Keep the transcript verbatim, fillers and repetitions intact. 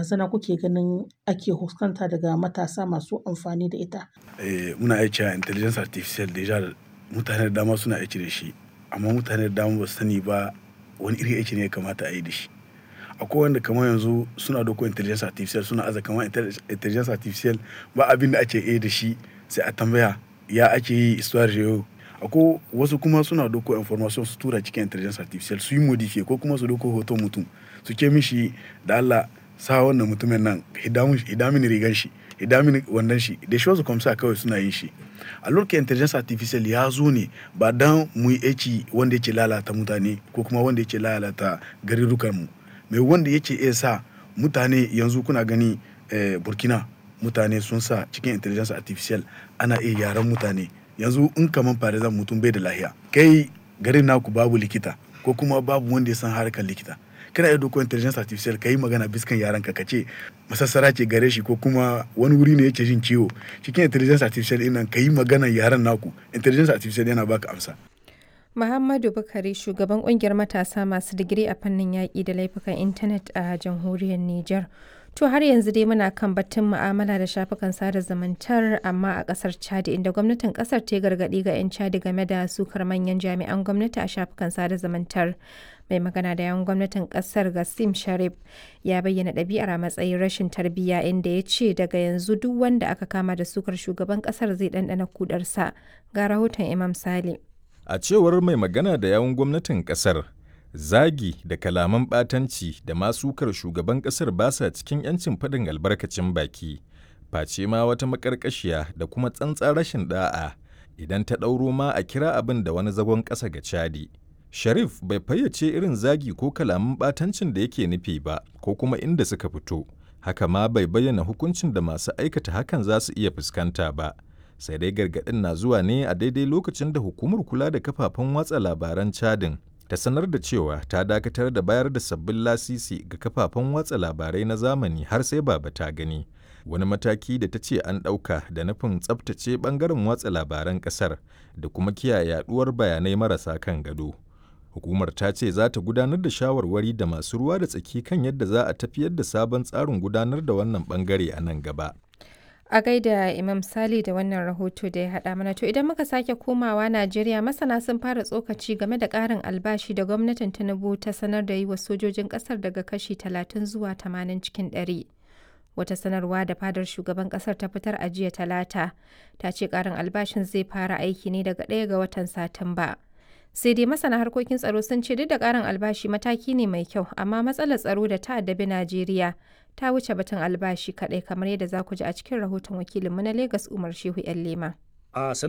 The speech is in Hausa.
barazana kuke ganin ake fuskanta daga matasa masu amfani da ita? Eh, muna iya cewa intelligence artificial deja mutane da dama suna aiki da shi, amma mutane da dama ba su sani ba wani irin aiki ne ya kamata a yi da shi. Akwai wanda kamar yanzu suna ɗauko intelligence artificial, suna aza kamar intelligence artificial ba abin da ake iya da shi, sai a tambaya ya ake yi histoire geo. Akwai wasu kuma suna ɗauko information su tura cikin intelligence artificial su yi modify, ko kuma su ɗauko hoton mutum su ce mishi, da Allah sa wannan mutumin nan, hidda mini rigan shi, hidda mini wandon shi, da shi wasu kwamsa kawai suna yin shi. A lokacin intelligence artificial ya zo ne ba don mu yi aiki wanda yake lalata mutane ko kuma wanda yake lalata garurrukan mu. Mai wanda yake iya sa mutane yanzu kuna gani, eh, Burkina mutane sun sa cikin intelligence artificial ana iya gyaran mutane. Yanzu in kamar for example mutum bai da lafiya, kai garin naku babu likita ko kuma babu wanda ya san harkar likita. Kana iya ɗauko intelligence artificial ka yi magana biskan yarenka, ka ce masassara ce gare shi ko kuma wani wuri ne yake jin ciwo. Cikin intelligence artificial ɗin nan ka yi maganan yaren naku, intelligence artificial yana baka amsa. Muhammadu Bukari, shugaban kungiyar matasa masu digiri a fannin yaƙi da laifukan intanet a jamhuriyar Nijar. To har yanzu dai muna kan batun mu'amala da shafukan sada zumuntar, amma a ƙasar Chad, inda gwamnatin ƙasar ta gargaɗi ga 'yan Chad game da sukar manyan jami'an gwamnati a shafukan sada zumuntar. Mai magana da yawan gwamnatin ƙasar, Gassim Sharif, ya bayyana ɗabi'ar a matsayin rashin tarbiyya, inda ya ce daga yanzu duk wanda aka kama da sukar shugaban ƙasar zai ɗanɗana kudarsa. Ga rahoton Imam Sale. A cewar mai magana da yawun gwamnatin kasar, zagi da kalaman ɓatanci da masukar shugaban kasar ba sa cikin 'yancin faɗin albarkacin baki, face ma wata maƙarƙashiya da kuma tsantsar rashin ɗa'a, idan ta ɗauro ma a kira abin da wani zagon ƙasa ga Chadi. Sharif bai fayyace irin zagi ko kalaman ɓatancin da yake nufi ba ko kuma inda suka fito, haka ma bai bayyana hukuncin da masu aikata hakan za su iya fuskanta ba. Sai dai gargaɗin na zuwa ne a daidai lokacin da hukumar kula da kafafen watsa labaran Chadin ta sanar da cewa ta dakatar da bayar da sabbin lasisi ga kafafen watsa labarai na zamani har sai baba ta gani, wani mataki da ta ce an ɗauka da nufin tsabtace ɓangaren watsa labaran ƙasar da kuma kiyaye yaɗuwar bayanai marasa kan gado. Hukumar ta ce za ta gudanar da shawarwari da masu ruwa da tsaki kan yadda za a tafiyar da sabon tsarin gudanar da wannan ɓangare a nan gaba. A gaida Imam Sali da wannan rahoto da ya haɗa mana. To idan muka sake komawa Najeriya, masana sun fara tsokaci game da ƙarin albashi da gwamnatin Tinubu ta sanar da yi wa sojojin ƙasar daga kashi talatin zuwa tamanin cikin ɗari. Wata sanarwa da fadar shugaban ƙasar ta fitar a jiya Talata ta ce ƙarin albashin zai fara aiki ne daga ɗaya ga watan Satumba. Sai dai masana harkokin tsaro sun ce duk da ƙarin albashi mataki ne mai kyau, amma matsalar tsaro da ta addabi Najeriya ta wuce batun albashi kaɗai, kamar yadda za ku ji a cikin rahoton wakilinmu na Legas, Umar Shehu 'Yan Lema. A